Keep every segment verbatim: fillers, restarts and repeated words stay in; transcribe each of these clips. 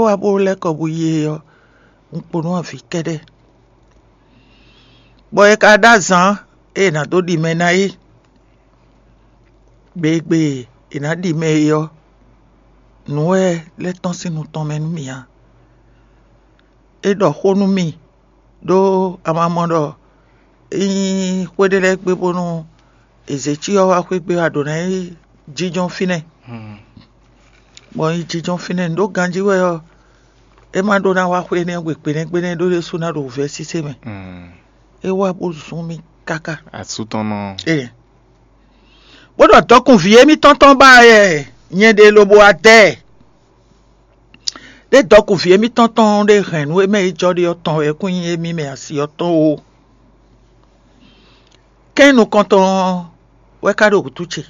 wá bó lɛ́ kɔ bó yi é ɔ́, un kpo nú avǐ kɛ́ɖɛ́. Bɔ è ka ɖó azǎn e è nǎ dó ɖi mɛ ná é. Gbe e gbe è nǎ ɖi mɛ é ɔ́, nǔ wɛ lɛ́ tɔ́n sín nu tɔn mɛ nú mì ǎ. É ɖɔ xó nú mì ɖó amamɔ ɖɔ é nyí xwé ɖé lɛ́ɛ gbe bónú è zě cyɔ wá xwé gbe wá ɖǒ ná yi jínjɔ́n fínɛ́. Bɔ un yi jínjɔ́n fínɛ́, nǔ ɖó ganjí wɛ ɔ́, é má ɖó ná wá xwé énɛ́ gbe kpěnɛ́kpénɛ́ ɖó ɖésú ná ɖo wǔvɛ́ sísé mɛ. É wá bó zún mì káká. Asú tɔn nɔ. Ee. Bó ɖɔ dɔkun vǐ émítɔn tɔn ba yɛ nyɛ ɖe lobo adɛ. Ɖé dɔkun vǐ émítɔn tɔn ɖé hɛn nǔ e mɛ yi jɔ ɖe ɔ́ tɔn wɛ kún nyí émí mɛ asi ɔ́ tɔn o. Kɛ́n nukɔntɔn wɛ ka ɖo wǔtu ce.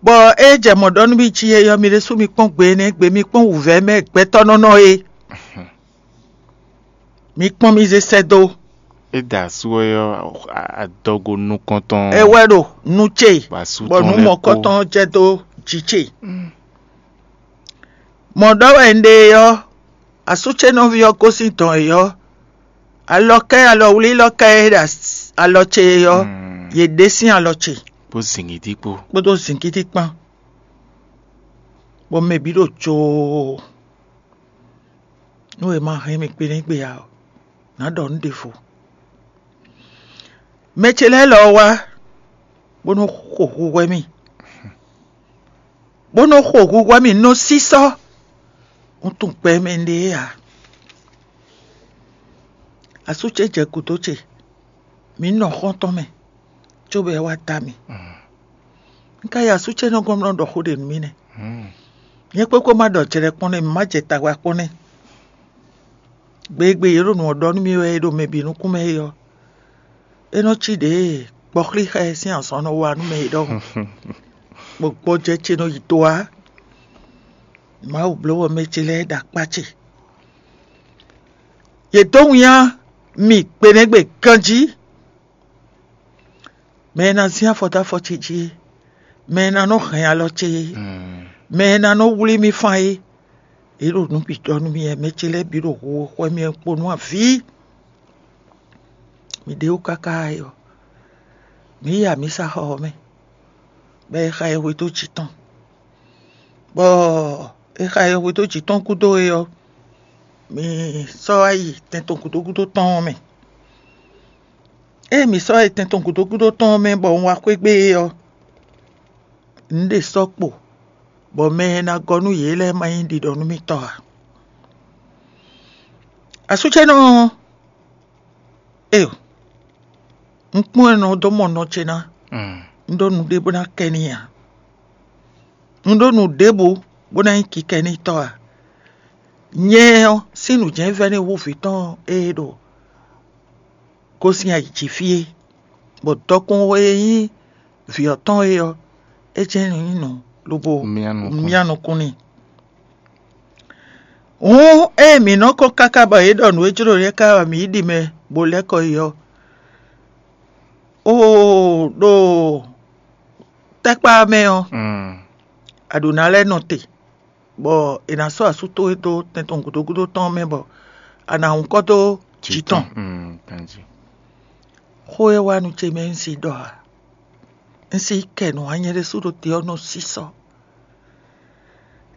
Bɔ é jɛ mɔ̌ ɖɔ nú mì jí é ɔ́, mi ɖésú mi kpɔ́n gbe énɛ́ gbe, mi kpɔ́n wǔvɛ́ mɛ gbɛtɔ́ nɔ nɔ é. Mi kpɔ́n mi zé sɛ́ dó. É da asú ɔ́ ɔ́, adɔgo nukɔntɔn. É wɛ ɖo nu ce, bɔ nǔ mɔ̌kɔtɔn jɛ dó jǐ ce. Mɔ̌ ɖɔ wɛ un ɖe é ɔ́, asú ce nɔví ɔ́ gosín dɔn é ɔ́, alɔkɛ́ alɔwlílɔkɛ́ e ɖo alɔ ce é ɔ́, yě ɖe sín alɔ ce. Kpó zǐngídi kpó. Kpódó zǐngídi kpán. Bɔ mɛ bǐ ɖo joo. Nú è ma hɛn mì kpéɖéŋkpé ǎ ɔ́, nǎ ɖɔ nǔ ɖěvo. Mɛ ce lɛ́ɛ lɔ wá, bó nɔ́ xo hu hwɛ mì, bó nɔ́ xo hu hwɛ mì nɔ sísɔ́. Un tunwun gbɛ mɛ ɖe é ǎ. Asú ce jɛ gǔdo ce, mǐ nɔ xɔ́ntɔn mɛ, cóbɔ é wá da mì. Un ka yi asú ce nɔ gɔ́n nɔ ɖɔ xó ɖě nú mì nɛ́. Nyɛ kpékpé ma ɖɔ jlɛ kpɔ́n nɛ́, mǐ ma jɛ tagba kpɔ́n nɛ́. Gbe e gbe yě ɖo nǔ ɔ́ ɖɔ nú mì wɛ é ɖo mɛ bǐ nukún mɛ é ɔ́, é nɔ cí ɖě e gbɔxlí xá ɛ sín azɔn nɔ wa nú mɛ é ɖɔhun, bɔ gbɔjɛ́ ce nɔ yi do ǎ. Mawu bló bɔ mɛ ce lɛ́ɛ ɖo akpá ce. Yě dó winnyá mì gbenɛ́gbe ganjí. Mɛ e ná zín afɔ dó afɔ ce jí é, mɛ e ná nɔ hɛn alɔ ce é, mɛ e ná nɔ wlí mì fán é, yě ɖo nǔ bǐ ɖɔ nú mì wɛ. Mɛ ce lɛ́ɛ bǐ ɖo hu xwɛ mì wɛ kpo nú avǐ. Mǐ ɖe wú káká é ɔ́, mǐ yi amǐsaxɔ ɔ́ mɛ, bɔ è xa ɛ hwedó jǐ tɔn. Bɔ è xa ɛ hwedó jǐ tɔn gúdo é ɔ́, mǐ sɔ́ wá yi tɛn tɔn gǔdo gúdo tɔn ɔ́ mɛ. Ée mǐ sɔ́ yi tɛn tɔn gǔdo gúdo tɔn ɔ́ mɛ bɔ un wá xwé gbe é ɔ́, un ɖe sɔ́ kpo, bɔ mɛ e ná gɔ́ nú yě lɛ́ɛ ma nyí ɖiɖɔ nú mì tɔ́ ǎ. Asú ce nɔ ɔ́, Eo, un kpɔ́n ɛ nɔ dó mɔ nɔ ce ná. Un ɖó nǔɖé bó ná kɛ n'i ǎ. Un ɖó nǔ ɖěbǔ bó ná nyí kikɛ n'i tɔ́ ǎ. Nyɛ ɔ́, sín nǔjɛ́nvɛ́ ní hú vǐ tɔn e ɖo gosín ayǐ jí fí é, bɔ dɔkun e nyí vǐ ɔ́ tɔn é ɔ́, é jɛ́n nyí nǔ lobo Myá nukún. Myá nukún n'i. Hǔn ée mǐ nɔ kɔn káká bɔ yě ɖɔ nǔ e jló lɛ́ɛ ká wɛ mǐ yi ɖi mɛ bó lɛ́ kɔ yi ɔ́, oo, ɖo tɛ́kpá ɔ́ mɛ ɔ́, a ɖǒ ná lɛ́ nɔ te, bɔ è nǎ sɔ́ asú towe dó tɛn tɔn gǔdo gúdo tɔn ɔ́ mɛ, bɔ a nǎ hun kɔ dó jǐ tɔn. Xó e wá nu ce mɛ un si ɖɔ ǎ. Un si kɛ nǔ anyɛ ɖésú ɖo te ɔ́ nɔ sísɔ́.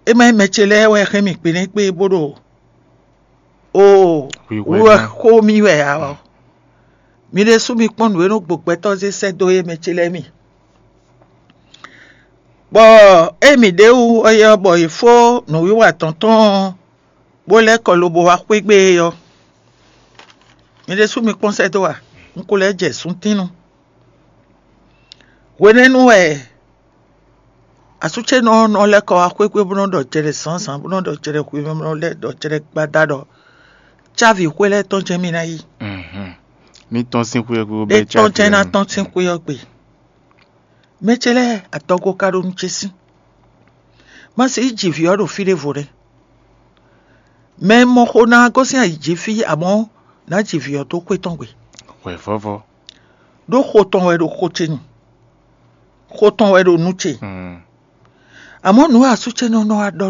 É má nyí mɛ ce lɛ́ɛ wɛ hɛn mì kpěnɛ́kpé bó ɖo oo wú wɛ xó mì wɛ ǎ ɔ́, mi ɖésú mi kpɔ́n nǔ e nɔ gbo gbɛtɔ́ zé sɛ́ dó é mɛ ce lɛ́ɛ mi. Bɔ ée mǐ ɖe wú ɔ́, bɔ è fó nǔwiwa tɔn tɔn ɔ́, bó lɛ́ kɔ lobo wá xwé gbe é ɔ́, mi ɖésú mi kpɔ́n sɛ́ dó a? Un ko lɛ́ jɛ súntínnú. Hwenɛ́nu wɛ asú ce nɔ nɔ lɛ́ kɔ wá xwé gbe bó nɔ ɖɔ jɛɖɛ zǎnzǎn, bó nɔ ɖɔ jɛɖɛ hwemɛ, bó nɔ lɛ́ ɖɔ jɛɖɛ gbada ɖɔ cávi xwé lɛ́ɛ tɔn jɛ́n mì ná yi. Mi tɔn sín xwé ɔ́ gbe bó bɛ́ étɔn jɛ́n ná tɔn sín xwé ɔ́ gbe. Mɛ ce lɛ́ɛ, adɔgo ka ɖo nu ce sín. Má se yi ji vǐ ɔ́ ɖo fí ɖěvo nɛ́. Mɛ e mɔ xo ná gosín ayǐ jí fí, amɔ̌ ná ji vǐ ɔ́ dó xwé tɔn gbe. Hwɛ̌vɔ́vɔ́. Ɖó xo tɔn wɛ ɖo xo ce nu. Xo tɔn wɛ ɖo nu ce. Amɔ̌ nǔ e asú ce nɔ nɔ wá ɖɔ